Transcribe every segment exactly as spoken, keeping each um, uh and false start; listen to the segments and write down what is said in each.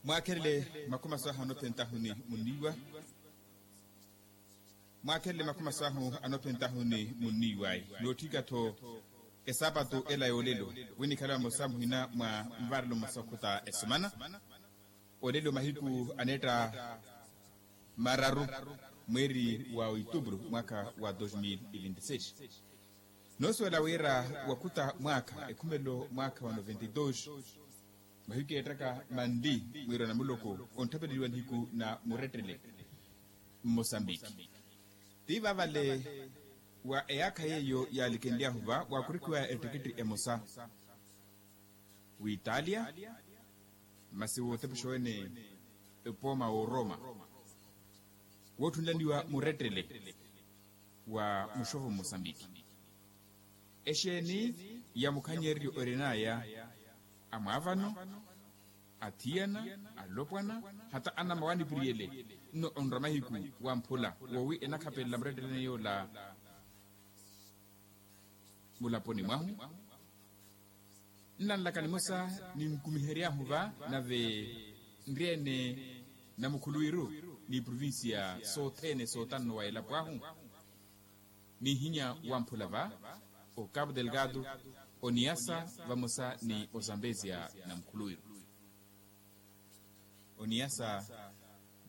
Mwaakhelele makumi aso ahu anophentahuni munniiwa. Mwaakhelele makumi aso ahu anophentahuni munniiwayi nootthika-tho esaapatu ela yoolelo. Winikhale vamosa muhina mwa nvaarelo mmosa okhuta esumana. Olelo mahiku aneetta mararu mweeri wa oitubru mwaakha wa dos mil e vinte e seis. Noosuwela wira wakhuta mwaakha ekhumelo mwaakha wa noventa e dos. Mahiku eettaka manli mwiirana muloko ontthapeleliwa nihiku na murettele mmosambiki. Ti vaavale wa eyaakha yeeyo yaalikenly'ahu va waakurikhiwa ettikitthi emosa w'italia masi wootepexa wene epooma w'oroma wootthunlaniwa murettele wa muxovo mmosambiki. Exeeni ya mukhanyereryo orin'aya amwaavano, athiyana, alopwana, hata anamawaanipiriyele nno onrwa mahiku wamphula woowi enakhapelela muretteleni yoola mulaponi mwahu. Nnanlaka nimosa ninkumihery'ahu va nave nryeene namukhuluwiru n'iprovincia sothene sootanno wa elapo ahu. Nihinya wamphula va o cabo delgado, oniyasa vamosa ni ozambezia namukhuluwiru. Oniyasa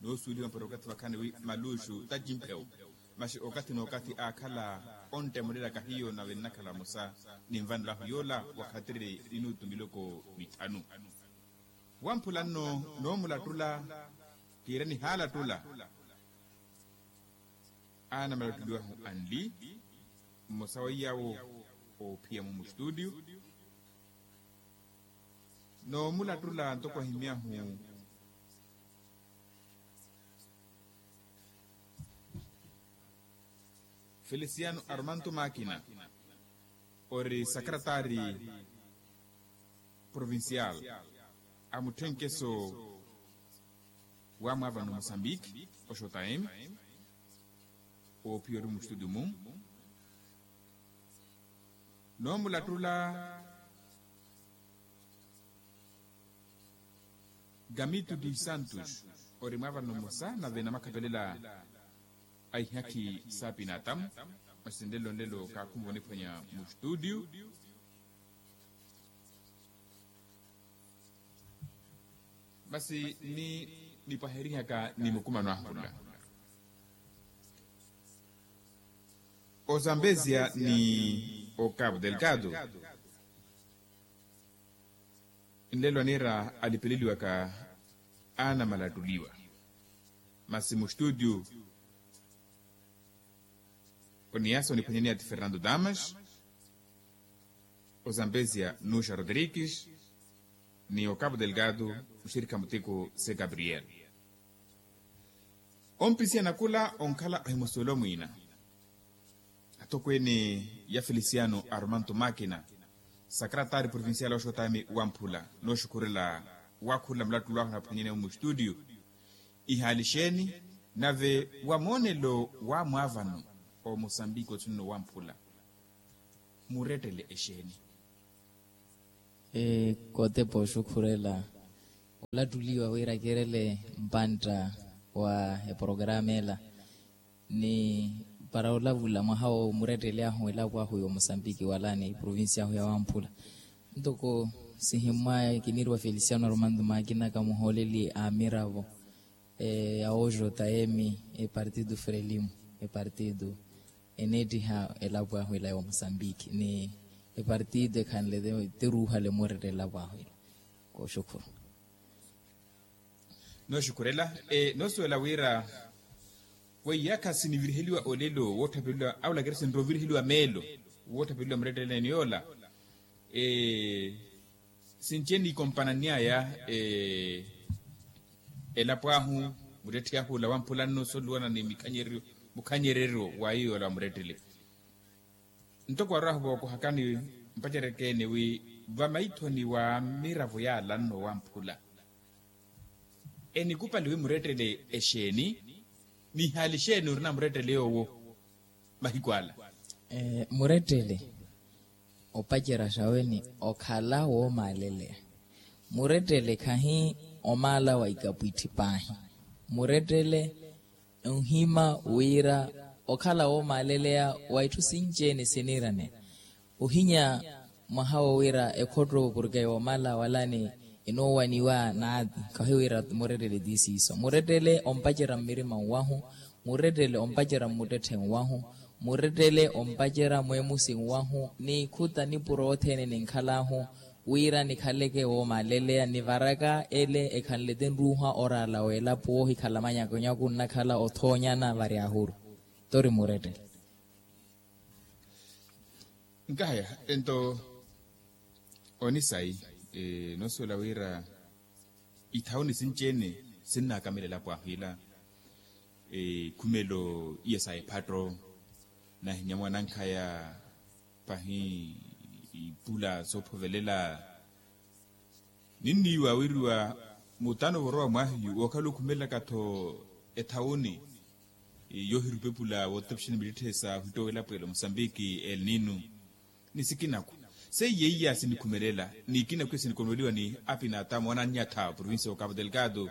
noosuweliwa mpora okathi vakhaani wi maluxu tacimphewu. Maxi okathi n'okathi aakhala onttemulelaka hiyo nave nnakhala vamosa ninvanelo ahu yoola wakhatiri minutu miloko mithanu. Wamphula nno noomulattula kiira nihaalattula. Anamalattuliwahu anli mmosa wa iyaawo oophiya-mu mustutio. Noomulattula ntoko ahimyahu feliciano armanto makina ori sakaratari provincial a mutthenkeso wa mwaavano musambiki oxotaemi oophiya ori mustutio-mu. Noomulattula gamito dos santos ori mwaavano mmosa nave namakhapelela a ihakhi saapinatamu. Masi nlelo nlelo kaakhumva oniphwanya mustutio. Masi ni nipwaherihaka ni mukumano ahula ozambezia ni ocabo delgado. Nlelo aniira alipeleliwaka anamalattuliwa. Masi mustutio oniyasa oniphwanyaniya ti fernando damas, ozambezia nuxa rodrigues, ni ocabo delgado muxirikha muteko se gabriel. Ompisiya nakula onkhala ohimusuwela omwiina atokweene ya feliciano armanto makina, sakaratari provincial oxotami wamphula nooxukhurela wakhurela mulattulo ahu naphwanyene mustutio. Ihaali xeeni nave wa moonelo wa mwaavano omosambiki othunino wamphula murettele exeeni? Kotepa oxukhurela olattuliwa wira kerele mpantta wa eporokaramu ela ni para olavula mwaha wo murettele ahu elapo ahu ya omosambiki wala ni provincia ahu ya wamphula. Ntoko sihimmwaya kiniiriwa feliciano armando makina kamuhooleli a miravo ya oxotayemi epartido frelimo epartido eneettiha elapo ahu ela ya omosambiki ni epartido ekhanle te ruuhale murettele elapo ahu ela. Kooxukhuru. Nooxukhurela noosuwela wira weiyaakha siniviriheliwa olelo wootthapereliwa awulakeri sinroviriheliwa meelo wootthapereliwa muretteleni yoola. Sinci enikompanannyaya elapo ahu muttetthe ahu ola wamphula nno soluwana ni mukhanyereryo wa iyo yoola wa murettele. Ntoko arwahu vookohakani mpacereke-ene wi vamaithoni wa miravo yaala nno wamphula enikupali wi murettele exeeni? Ni ihaali xeeni orina murettele yoowo mahiku ala? Murettele opacerya xaweni okhala woomaaleleya. Murettele khahi omaala wa ikapwitti paahi. Murettele onhima wira okhala woomaaleleya wa itthu sinci-ene siniirane. Ohinya mwaha wo wira ekhotto porke yoomala walani enoowaniwa naati. Khahiwira murettele ti siiso murettele ompacerya mmirima nwahu. Murettele ompacerya mmuttetthe nwahu. Murettele ompacerya mweemusi nwahu ni ikhuta nipuro othene ninkhal'ahu wira nikhaleke woomaaleleya nivaraka ele ekhanle ti nruuha oraala w'elapo woohikhala manyakunyaku nnakhala othoonyana vari ahuru. Tori murettele. Nkahaya ento onisayi noosuwela wira ithawuni sinci-ene sinnaakamela elapo ahu ila. Ekhumelo iya sa ephatto nahinya mwanankhaya pahi ipula soophovelela. Ninniiwa wiriwa mutano vorowa mwahiyu wookhala okhumelelaka-tho ethawuni yoohirupepula wootapixani mittitthe sa ohittowa elapo ela musambiki elninu. Ni sikinaku seiya iya sinikhumelela ni ikinaku iya sinikonoliwa ni apinatamu anannyatha provincia ya okapu delgado.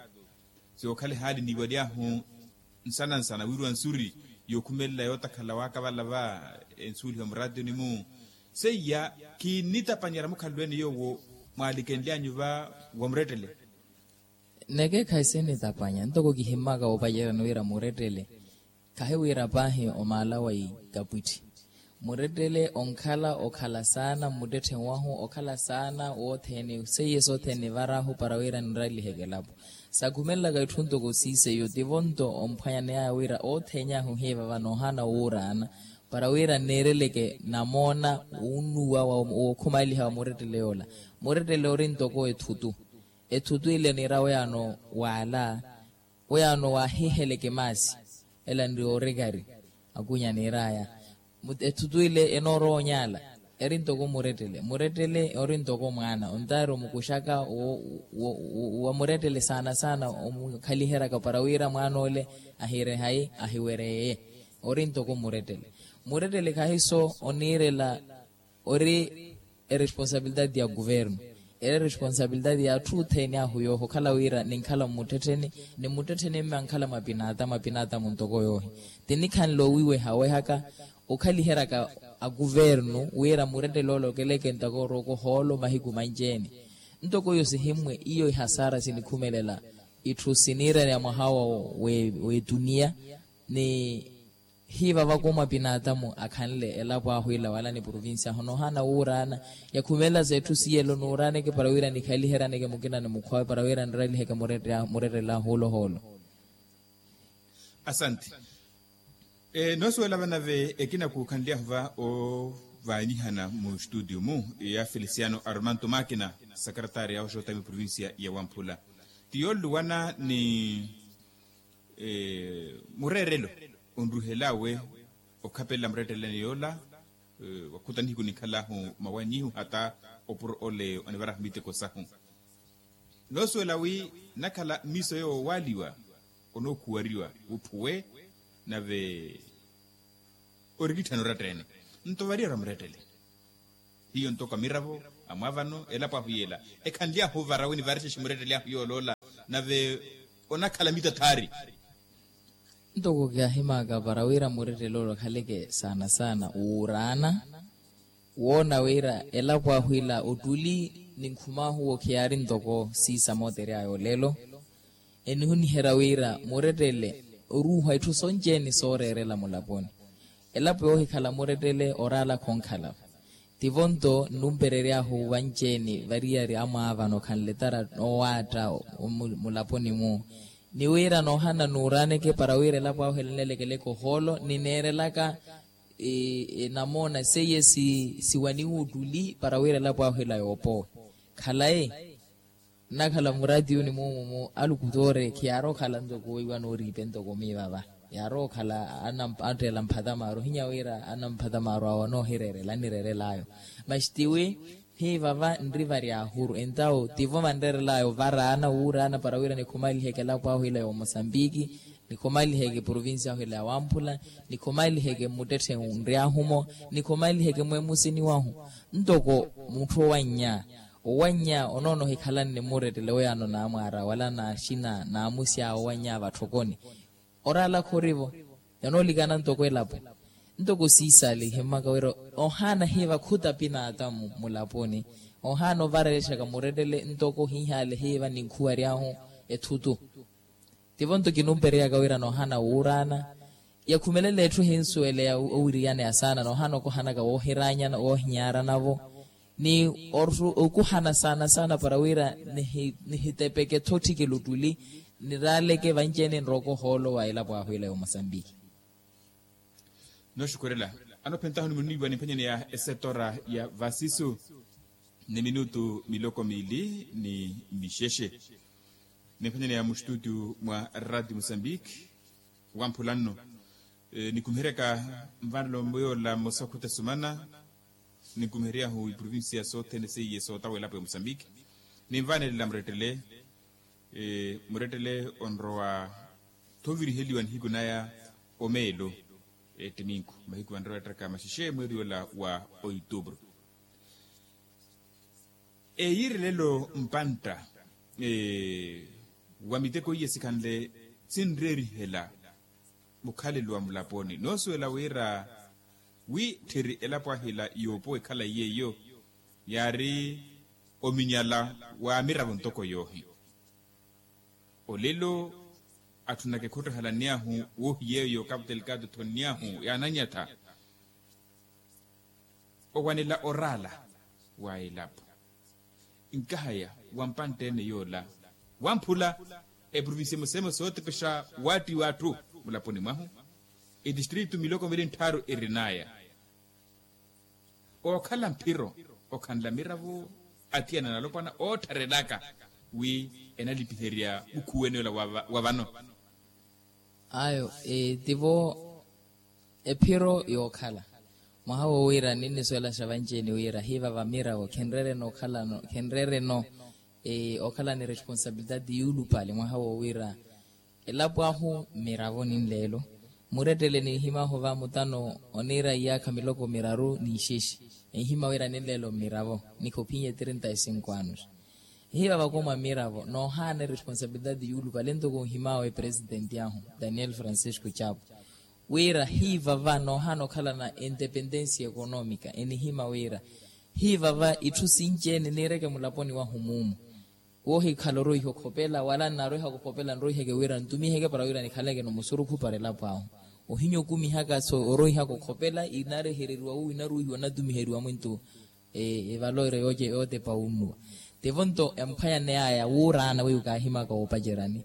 Siwookhala ehaali niiwalyahu nsana nsana wiriwa nsuri yookhumelela yootakhala waakavala va ensuuliha muraatiyoni-mu. Seiya kinnitapanyerya mukhalelweene yoowo mwaalikenlyanyu va wa murettele. Neke khayi sinnitapanya ntoko kihimmaka woopaceryani wira murettele. Khahi wira paahi omaala wa ikapwitthi murettele onkhala okhala saana mmuttetthe wahu okhala saana wothene seiye sothene nivarahu para wira ninraliheke elapo. Sakhumelelaka itthu ntoko siiseiyo tivo nto omphwanyaneyaya wira otheeny'ahu hiivava noohana wuuraana para wira nneereleke namoona wunnuwa wookhumaaliha wa murettele yoola. Murettele ori ntoko ethutu. Ethutu ile niira weyaano waala weyaano waahiheleke maasi ela nri oorikari. Akunya niir'aya ethutu ile enoorowa onyaala eri ntoko murettele murettele ori ntoko mwaana ontaari omukuxaka wa murettele saana saana omukhaliheryaka para wira mwaan'ole ahirehayi ahiwereye. Ori ntoko murettele murettele khahiso oniirela ori eresponsabilidade ya kuvernu eri eresponsabilidade ya atthu othene ahu yooho okhala wira ninkhala mmuttettheni ni mmuttettheni mme ankhala mwa pinaatamu apinaatamu ntoko yoohi. Tinikhanle owiweha wehaka okhaliheryaka akuvernu wira murettele ole okeleke ntoko oroko ohoolo mahiku manci-ene. Ntoko iyo sihimmwe iyo ihasaara sinikhumelela itthu siniiraniya mwaha w'etuniya ni hiivavaka omwa pinaatamu akhanle elapo ahu ila wala ni provincia ahu noohana wuuraana yakhumelela sa etthu siyelo nuuraaneke para wira nikhaliheryaneke mukina ni mukhwawe para wira niraliheke murettele ahu ola ohoolo. Asanti. Noosuwela vanave ekina kuukhanly'ahu va ovaanihana mu studio mu ya feliciano armanto makina secretary ya oxotami provincia ya wamphula ti yooluwana ni mureerelo onruhel'awe okhapelela mureetteleni yoola. Wakhuta nihiku ninkhal'ahu mawanyihu hata opuro ole onivarahu miteko sahu. Noosuwela wi nakhala mmiso yoowaaliwa onookhuwariwa wuphuwe nave orikitthana oratta-ene nto variyari amurettele. Hiyo ntoko amiravo amwaavano elapo ahu yeela ekhanly'ahu ovara wini varixexe murettely'ahu yooloola nave onakhala mitathaari. Ntoko kiyahimaaka para wira murettele ole okhaleke saana saana wuuraana woona wira elapo ahu ila ottuli ninkhum'ahu wo khiyaari ntoko siisa mootery'aya olelo. Enihuniherya wira murettele oruuha itthu sonci-ene sooreerela mulaponi. Elapo yoohikhala murettele oraala khonkhala-vo. Tivo nto nnumperery'ahu vanci-ene variyari amwaavano khanletara noowaatta mulaponi-mu ni wira noohana nuuraaneke para wira elapo ahu ela nneelekeleke ohoolo nineerelaka namoona seiye siwaniwa ottuli para wira elapo ahu ela yoopowe. Khalayi nnakhala muraatiyuni muumu mu alukutoore khiyaari okhala ntoko weiwa nooriipe ntoko miivava yaari okhala atteela mphatamaaru ohinya wira anna mphatamaaru awo anoohireerela anireerel'ayo. Masi tiwi hiivava nri vari ahuru entawo tivo vanreerel'ayo varaana wuuraana para wira nikhumaliheke elapo ahu ila ya omosambiki nikhumaliheke provincia ahu ila ya wamphula nikhumaliheke mmuttetthe nri ahumo nikhumaliheke mweemusini wahu ntoko mutthu owannya Owannya onoona ohikhalanne mmurettele weyaano naamwaara wala naaxina naamusya owannya vatthokoni. Oraala khorivo. Yanoolikana ntoko elapo. Ntoko siisale ihimmaka wira ohaana hiiva khutapi n'atamu mulaponi. Ohaana ovarerexaka murettele ntoko hiihaale hiiva ninkhuwary'ahu ethutu. Tivo nto kinumpereyaka wira noohana wuuraana yakhumelela etthu ehinsuweleya owiriyaneya saana noohana okohanaka woohiraanyana woohinyaranavo ni okuhana saana saana para wira nihitepeke-tho otthikela ottuli niraaleke vanci-ene nrooko ohoolo wa elapo ahu ela ya omosambiki. Nooxukurela. Anophentahu ni muniiwa nimphwanyaneya esetora ya vasisu ni minutu miloko miili ni mixexe. Nimphwanyaneya mustutu mwa radio mosambiki wamphula nno. Nikumiheryaka nvanelo muyoola mmosa okhutesumana. Nikumiheryahu iprovincia sothene seiye sootawelapo ya mosambiki. Ninvanelela murettele murettele onrowa thoviriheliwa nihiku naya omeelo ettiminku mahiku vanrowa ettaka maxexe mweeri ola wa oitubru. Eyiirelelo mpantta wa miteko iye sikhanle sinreerihela mukhalelo wa mulaponi noosuwela wira wi tthiri elapo ahila yoopowa ekhala iyeiyo yaari ominyala wa miravo ntoko yoohi. Olelo atthunaka ekhottohalanny'ahu woohiyeeyo kapu telikato etthonny'ahu yaanannyatha owanela oraala wa elapo. Nkahaya wa mpantte-ene yoola wamphula eprovincia emosa emosa ootepexa waatti w'atthu mulaponi mwahu. Etistritu miloko miili nttharu erin'aya ookhala mphiro okhanla miravo athiyana na alopwana oottharelaka wi enalipiherya mukhuwene ola wa vano. Ayo tivo ephiro yookhala mwaha wo wira ninnisuwelaxa vanci-ene wira hiivava miravo khenreereno okhalano khenreereno okhala ni responsabilidade yuulupale mwaha wo wira elapo ahu mmiravo ninleelo. Murettele ninhim'ahu va mutano oniira iyaakha miloko miraru n'ixexe enhima wira ninleelo mmiravo nikha ophinya etrinta e cinco anos. Hiiva vakoma mmiravo noohaana eresponsabilidade yuulupale ntoko nhim'awe presidenti ahu daniel francisco chapo wira hiiva va noohaana okhalana entependensia economica enihima wira hiiva va itthu sinci-ene niireke mulaponi wahu muumu. Woohikhala oroiha okhopela wala nnarwihaka okhopela nroiheke wira ntumiheke para wira nikhaleke-no musurukhu para elapo ahu. Ohinya okumihaka so oroihaka okhopela inarehereriwa wu inaruwihiwa natumiheriwa mwintu evalore yootepa wunnuwa. Tivo nto emphwanyane yaya wuuraana weiwo kaahimaka woopacerani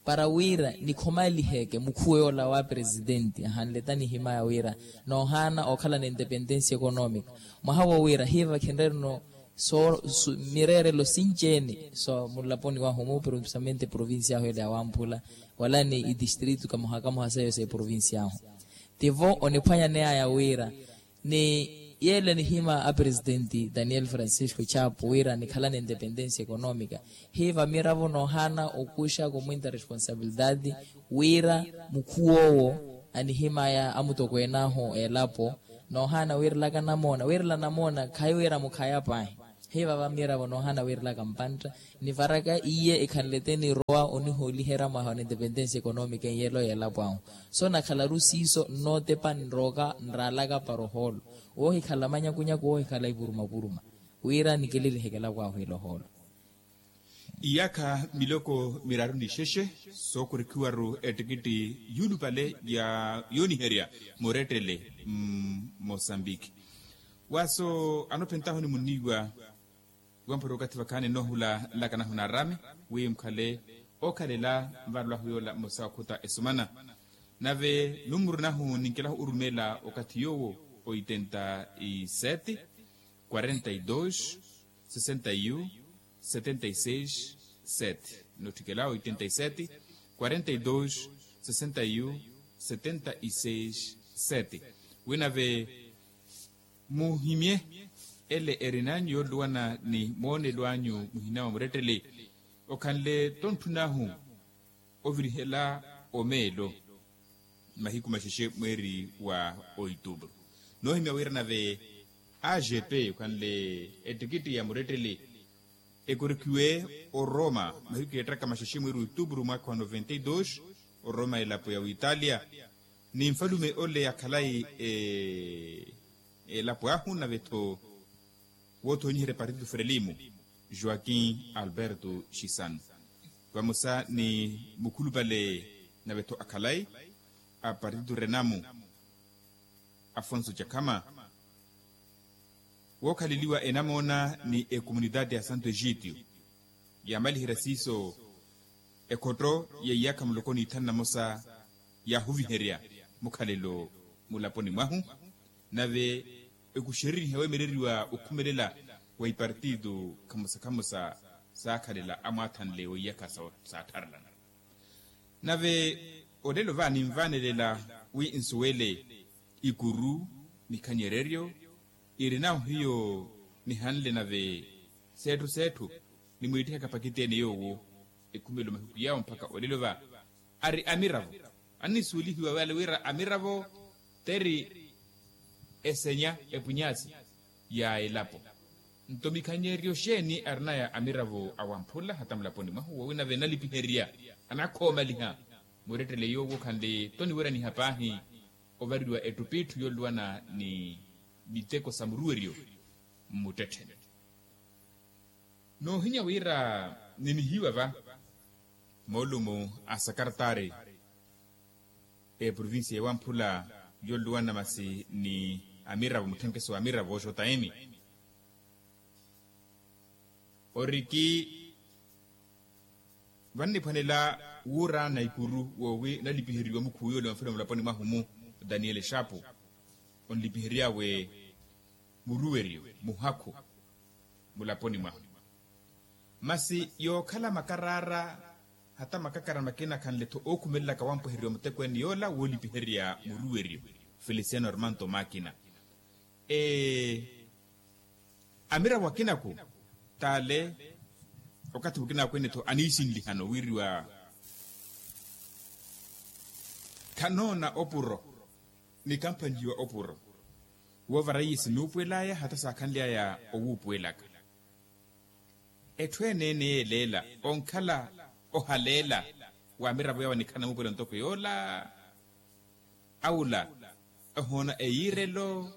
para wira nikhomaliheke mukhuwe yoola wa presidenti ahanleta nihimaya wira noohaana okhala n'independensia economica mwaha wo wira hiiva khenrereno so mireerelo sinci-ene so mulaponi wahu mu provinciamente provincia ahu ele ya wamphula wala ni itistritu kamoha kamoha seiyo sa eprovincia ahu. Tivo oniphwanyane yaya wira ni yeela nihima a presidenti daniel francisco chapo wira nikhala n'independensia economica hiiva miravo noohaana okuxaka omwinta responsabilidade wira mukhuw'owo anihimaya amutokween'ahu elapo noohaana wiirelaka namoona wiirela namoona khayi wira mukhaya paahi. Hiiva va miravo noohaana wiirelaka mpantta nivaraka iye ekhanlete nirowa onihooliherya mwaha wa n'independensia economica enyeelo y'elapo ahu so nakhalaru siiso nnootepa nrooka nraalaka para ohoolo woohikhala manyakunyaku woohikhala ipurumapuruma wira nikililiheke elapo ahu ila ohoolo. Iyaakha miloko miraru n'ixexe sookurikhiwaru ettikitti yuulupale ya yooniherya murettele mmosambiki. Waaso anophentahu ni muniiwa wamphwere okathi vakhaani nnoohula nlakanahu na araami wi mukhale ookhalela nvarelwahu yoola mmosa okhuta esumana. Nave numuru nahu ninkelahu orumeela okathi yoowo oitenta y sete quarenta y dos sesenta y un setenta y seis sete. Notthikela oitenta y sete quarenta y dos sesenta y un setenta y seis sete. Winave muhimye ele erin'anyu yooluwana ni moonelo anyu muhina wa murettele okhanle tontthun'ahu ovirihela omeelo mahiku maxexe mweeri wa oituupuru. Noohimya wira nave agp okhanle ettikitti ya murettele Ekorikhiwe oroma mahiku eettaka maxexe mweeri wa otupuru mwaakha wa noventa e dos, oroma elapo ya witalia ni nfalume ole akhalayi elapo ahu nave-tho woothonyiherya partido frelimo, joaquim alberto xisano vamosa ni mukhulupale nave-tho akhalayi a partido renamo, afonso cakhama wookhaleliwa enamoona ni ekomunitaati ya santo egitio yaamaliherya siiso ekhotto ya iyakha muloko ni ithanu na mosa yaahuviherya mukhalelo mulaponi mwahu. Nave ekuxereriha weemereriwa okhumelela wa ipartito khamosa khamosa saakhalela amwaathanle wa iyakha saattharelana. Nave olelo va ninvaanelela wi nsuwele ikuru mikhanyereryo irinahu hiyo nihanle nave seetthu seetthu nimwiittihaka pakiteene yoowo ekhumelo mahiku yaawo mpakha olelo va ari amiravo. Annisuwelihiwa wale wira amiravo teri esenya epwinyaasi ya elapo. Nto mikhanyereryo xeeni arinaya amiravo awamphula hata mulaponi mwahu wowi nave enalipiherya anakhoomaliha murettele yoowo khanle toniweraniha paahi ovariwa ettup'itthu yooluwana ni miteko sa muruweryo mmuttettheni. Noohinya wira ninihiwa va moolumo a sakartaari eprovincia ewamphula yooluwana masi ni amiravo mutthenkeso wa amiravo oxota eni oriki vanniphwanela wuuraana ikuru woowi nalipiheriwa mukhuwiyole wamfela mulaponi mwahu-mu daniel exapu onlipihery'awe muruweryo muhakhu mulaponi mwahu. Masi yookhala makaraara hata makakara makina khanle-tho ookhumelelaka wampweheriwa mutekweene yoola woolipiherya muruweryo feliciano armanto makina. Amiravo akinaku t'ale okathi mukina akwene-tho aniisinlihano wiriwa khanoona opuro ni kamphanyiwa opuro woovara iye sinuupuwel'aya hata saakhanly'aya owuupuwelaka. Etthu ene-ene yeeleela onkhala ohaleela wa amiravo yawo anikhala namuupuwela ntoko yoola awula ohoona eyiirelo.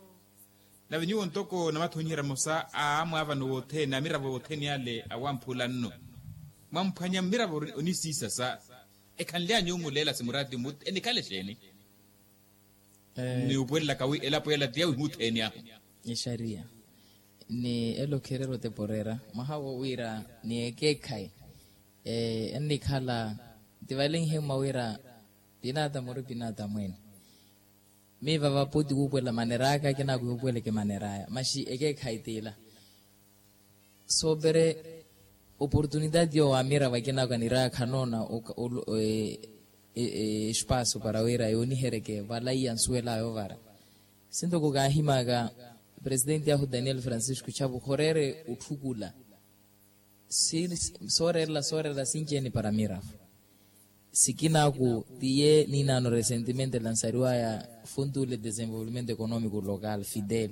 Nave nyuwo ntoko namathonyiherya mosa a amwaavano wothene amiravo wothene ale awamphula nno mwamphwanya mmiravo onisiisasa ekhanly'anyu omuleela simuraati mut enikhala exeeni? Ni upuwelelaka wi elapo ela ti yawihutheni ahu. Exariya ni elo kherero teporera mwaha wo wira ni ekeekhayi ennikhala tivalenhe mwa wira pinata muri pinata mwene. Miiva vapo ti wuupuwela maner'aka kinaku yuupuweleke maner'aya maxi ekeekhayi t'ila. Soopere oportunitaati yoowo amiravo akinako aniraya khanoona espaso para wira yoonihereke valaiya nsuwel'aya ovara. Sintoko kaahimaka presitenti ahu daniel francisco chapu khoreere otthukula sooreerela sooreerela sinci-ene para amiravo. Sikinaku tiye niinaano resentimente lansariwaya funtu le desenvolvimento economico local fidel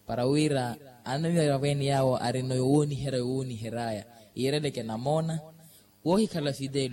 para wira amiravo ene yaawo arino yowooniherya yowoonihery'aya yiireleke namoona woohikhala fidel.